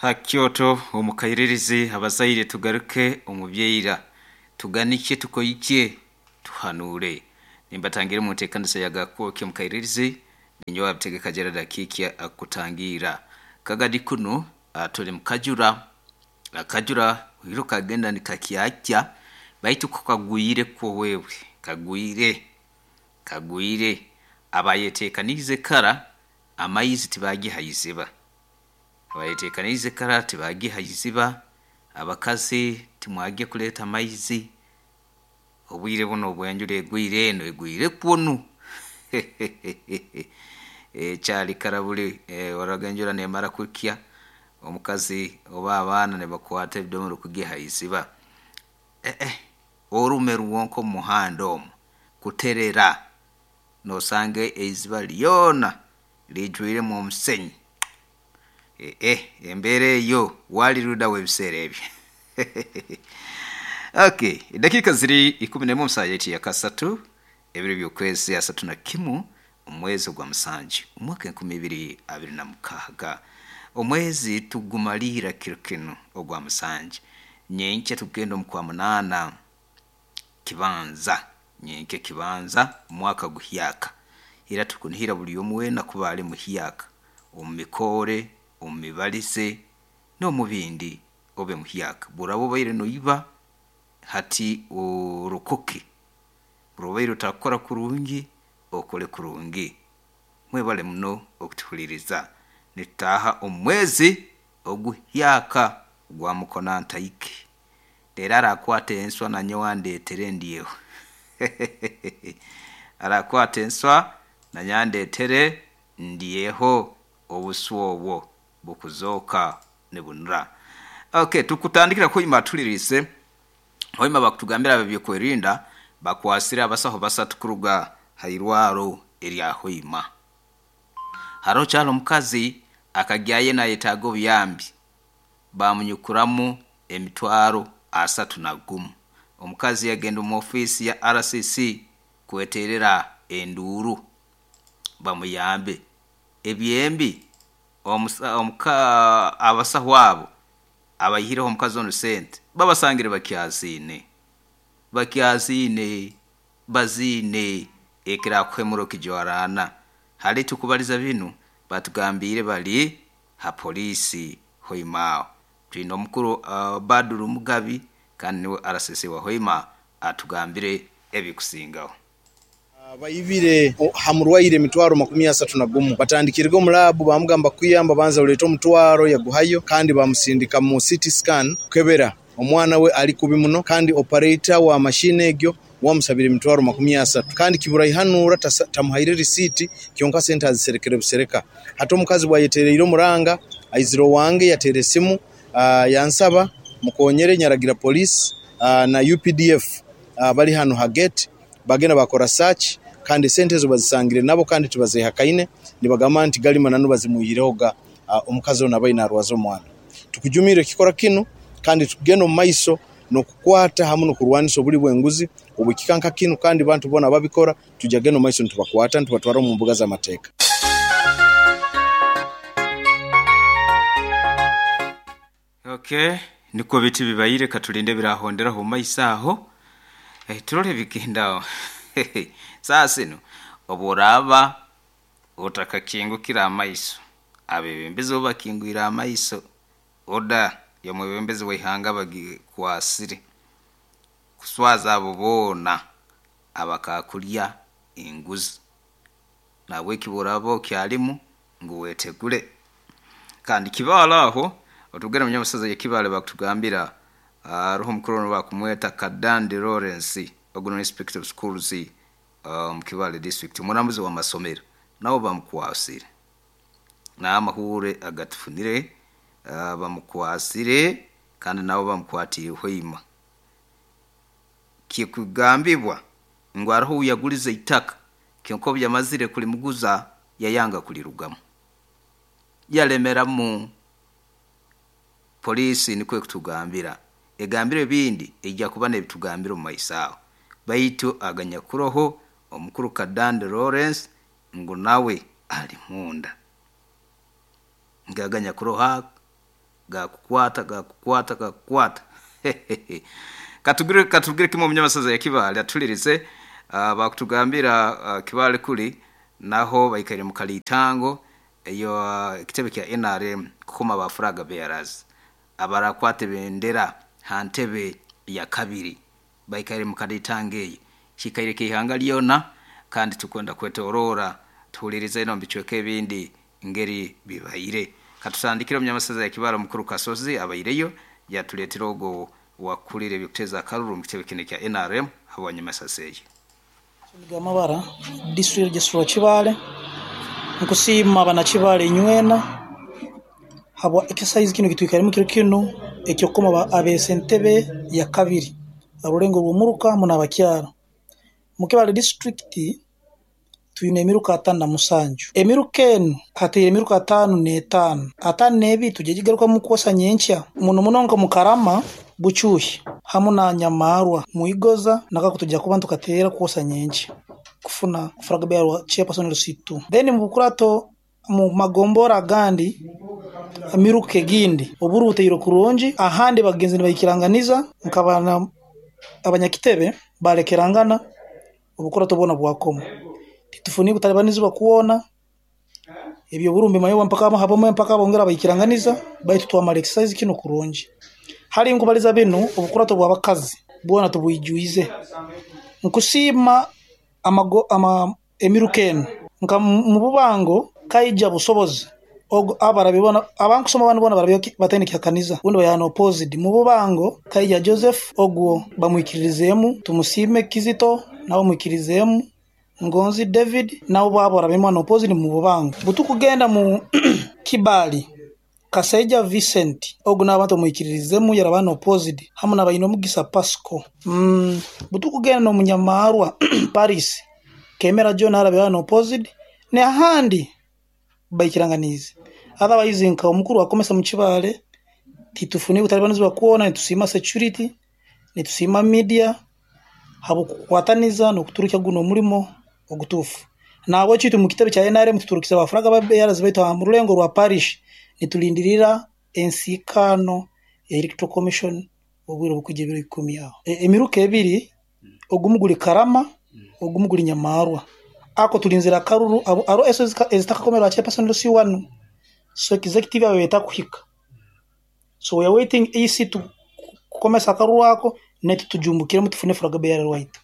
Ha Kyoto omu Kairirizi, abazaire tugaruke omu byaira, tuganikye, tukoikye, tuhanuure. Nimbatangira omu nteekanisa ya Gakwoki omu Kairirizi, ninyowe Abitegeka Gerald Akiikya akutangiira. Kagadi kunu tuli mu kajura, akajura hiro kagenda nikakyakya baitu ko kagwire kwo wewe, kagwire, kagwire. Abayeteekaniize kara amaizi tibagiha iziba. Abayeteekaniize kara tibagiha iziba, abakazi timwagya kuleeta amaizi, obwire bunu obw'enjura egwire enu egwire kwonu. Ekyali kara buli waroraga enjura neemara kukya, omukazi oba abaana nibakwata ebidomora kugiha iziba. Orume rwonka omu muhanda omu kuterera, noosanga eiziba lyona liijwiremu omusenyi. Embeera eyo wali rudawa ebiseera ebyo? Okay, edakiika ziri 11 omu saaha yaitu eyakasatu, ebiro by'okwezi 31 omwezi ogwa musanju omwaka 2026. Omwezi tugumaliira kiro kinu ogwa musanju, nyenkya tugenda omu kwa munaana kibanza, nyenkya kibanza omwaka guhyaka. Era tukunihira buli omu weena kuba ali muhyaka omu mikoore, omu mibalize, n'omu bindi obe muhyaka. Bw'oraaba obaire noiba, hati orokoke. Bw'oraaba obaire otakukora kurungi, okole kurungi. Mwebale muno okutuhuliiriza. Nitutaaha omu mwezi oguhyaka ogwa mukona ntaike. Reero arakwata enswa nanyowe andeetere ndyeho. Arakwata enswa nanyowe andeetere ndyeho obuswa obwo bukuzooka nibunura. Okay, tukutandikira Hoima atuhuliriize. Hoima bakutugambira ab'ebyokwerinda bakwasire abasaho basatu kuruga ha irwaro erya Hoima. Haroho kyali omukazi akagyayo nayetaaga obuyambi bamunyukuramu emitwaro 31. Omukazi yagenda omu ofiisi ya RCC kweterera enduuru bamuyambe. Ebyembi abasaho abo abaihireho omukazi onu sente babasangire bakyaziine, bakyaziine, baziine ekirakuhemura okijwaraana. Hali tukubaliza binu batugambiire bali ha poliisi Hoima aho. Twine omukuru Badru Mugabi kandi niwe RCC wa Hoima atugambire ebikusingaho. Baibire ha murwaire emitwaro 31. Batandikirege omu laabu baamugamba kukuyamba banza oleete omutwaro yaguhayo kandi baamusindika mu CT scan kukebera omwana we ali kubi muno kandi operator wa mashini egyo wamusabire emitwaro 30 kandi kiburaihanura tamuhaire risiiti kyonka sente aziserekere busereka. Hati omukazi bwayetereire omuranga aizire owange yateera esimu yansaba mukonyere nyaragira poliisi na UPDF bali hanu ha gate bagenda bakora search kandi esente ezo bazisangire nabo kandi tibazehakaine nibagamba nti gali mananu bazimwihirehoga omukazi onu abaire narwaza omwana. Tukujumirra ekikora kinu kandi tukugenda omu maiso n'okukwata hamu n'okurwanisa obuli bw'enguzi obw'ekika nka kinu kandi bantu boona ababikora tujja kugenda omu maiso nitubakwata nitubatwara omu mbuga z'amateeka. Okay, nikwo biti bibaire katulinde ebirahonderaho omu maiso aho turole ebigendaho. Saaha zinu obworaaba otakakingukire amaiso, abebembezi bo bakingwire amaiso, oda y'omwebembezi w'eihanga bagikwasire kuswaza abo boona abakakulya enguzi. Nahabweki bw'oraaba okyalimu ngu wetegule. Kandi Kibaale aho, otugenda omu nyamusozi ya Kibaale bakutugambira haroho omukuru onu bakumweta Kadandi Lawrence, ogu ni Inspector of Schools omu Kibaale district, omurambuzi w'amasomero, nawe bamukwasire. N'amahuure agatufunire bamukwasire kandi nawe bamukwatiire Hoima. Kikugambibwa ngu haroho ou yagulize itaka kyonka obu yamazire kulimuguza yayanga kulirugamu. Yalemeramu. Poliisi nikwo ekutugambira. Egambire ebindi eija kuba n'ebitugambira omu maiso aho. Baitu aganyakuroho omukuru Kadandi Lawrence ngu nawe ali munda. Ngu aganyakuroho ago. Gakukwata, gakukwata, gakukwata. Katugire kimwe omunyamasaza ya Kibaale atulirize, bakutugambira Kibaale kuli naho baikaire mu kalitango eyo ekitebe kya NRM kukoma ba flag bearers abarakwata ebendera ha ntebe ya kabiri baikaire mu kalitango eyo kikaire kihanga lyona kandi tukwenda kwetorora tuhulirize eno bicweka ebindi ngeri bibaire. Katutandikire omunyamasaza ya Kibaale omukuru Kasozi abaireyo yatuleetera ogwo wakulira ebyokuteza akaruru mu kitebe kino kya NRM habwanyamasasa eyo. Amabara district registrar Kibaale, nkusiima bana Kibaale nywena habwa exercise kino kitwikaremu kiro kinu ekyokukoma abese entebe ya kabiri arulengo rw'omuruka muno abakyara. Mu Kibaale district twine emiruka 57. Emiruka enu hateire emiruka 55. 52 tugigarukamu kwosa nyenkya muno muno nka Mukarama, Buchuhi hamu na Nyamarwa, Muigoza nakako tujja kuba tukateera kwosa nyenkya kufuna flag bearer chairperson LC2. Then mu bukurato mu magombora agandi emiruka egindi oburu buteire kurungi ahandi bagenzi nibaikiranganiza nkabana abanyakitebe balekerangana obukurato bwona bwakoma. Titufuni kutalibanizibwa kuona ebyo burumbi mayowa mpaka habomwe mpaka bongera baikiranganiza baitu twamala exercise kino kurungi. Hali nkubaliza binu obukurato bw'abakazi bwona tubuijuize. Nkusiima emiruka enu nka mu bubango kaija busobozi abarabibona abankusoma banu bona barabyo batene kihakaniza undi bayana opposite mu bubango kaija Joseph ogwo bamwikiririzemu tumusime Kizito nabo mwikirizemu Ngonzi David nabo babo barabimwa no opposite mu bubango. Butukugenda mu Kibali Kaseja Vincent ogwo n'abantu bamwikiririzemu yarabana opposite hamu n'abayina omugisa Pasco. Butukugenda no Munyamarwa Paris Kemera John arabibana opposite ne ahandi baikiranganize. Otherwise nka omukuru wakomesa mu Kibaale titufuni kutalibanizibwa kuona, nitusima security, nitusima media habukukwataniza n'okuturukya guno omulimo ogutufu. Nabo kitu mu kitebe kya NRM tuturukiza abafuraga ba bearers baitu mu rulengo rwa parish nitulindirira ensikano ya Electoral Commission obwire bukujja ebiro 10 aho. Emiruka ebiri ogumu guli Karama ogumu guli Nyamarwa. Ako tulinzira karuru aro eso ezitakakomerwa chairperson LC1 so executive abeta kuhika. So we are waiting EC to kukomesa akaruru ako netu tujumbukire mutufune flag bearer white.